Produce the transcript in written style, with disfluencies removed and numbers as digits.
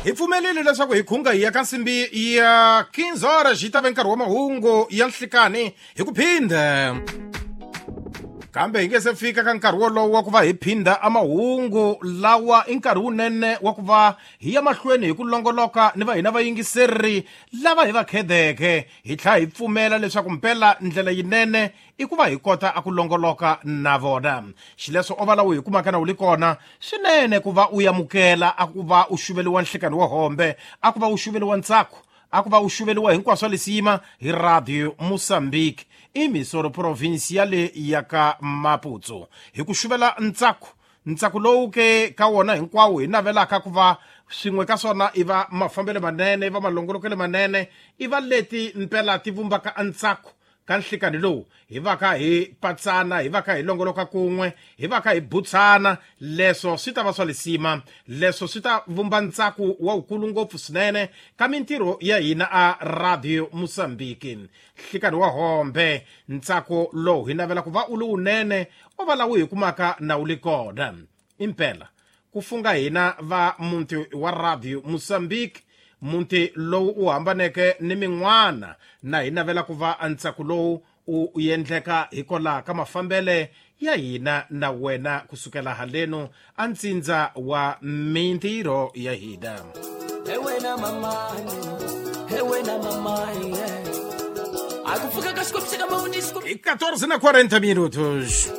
Hi pfumelile leswaku hi khunga hi ya ka nsimbi ya 15 horas yi ta ve nkarhi wa mahungu ya nhlikani hi ku phindha. Kambe hi nge se fika ka nkarhi wolowo wa ku va hi phindha a mahungu lawa i nkarhi wunene wa ku va hi ya mahlweni hi ku longoloka ni va hina vayingiseri lava hi va khedeke hi tlhela hi pfumela leswaku mpela ndlela yinene i ku va hi kota a ku longoloka na vona. Xileswo o va lawa hi kumaka na wu li kona swinene ku va u yamukela a ku va u xuveliwa nhlikani wa hombe, a ku va u xuveliwa ntsako, a ku va u xuveliwa hinkwaswo lisima hi Radio Mozambique imisoro provinciale ya ka Maputo. Hi ku xuvela ntsako, ntsako lowu ke ka wona hinkwawo hi navelaka ku va swin'we ka swona i va mafambelo manene, i va malongolokelo manene, i va leti mpela ti vumbaka ntsako ka nhlikani lowu hi va ka hi patsana, hi va ka hi longoloka kun'we, hi va ka hi butsana. Leswo swi ta va swa lisima, leswo swi ta vumba ntsako wa wukulu ngopfu swinene ka mintirho ya hina a Radio Mozambique. Nhlikani wa hombe, ntsako lowu hi navela ku va u li wunene o va lawu hi kumaka na wu li kona. Impela ku funga hina va muti wa Radio Mozambique, muti lowu u hambaneke ni min'wana, na hi navela ku va ntsako lowu u endleka hikwalaho ka mafambele ya hina na wena kusukela haleno a ntsindza wa mintirho ya hina. Hey wena mama, hey wena mama, yeah. A ku pfuka ka xikwembu xa ka mawundi, xikwembu. I 14 na 40 minutos.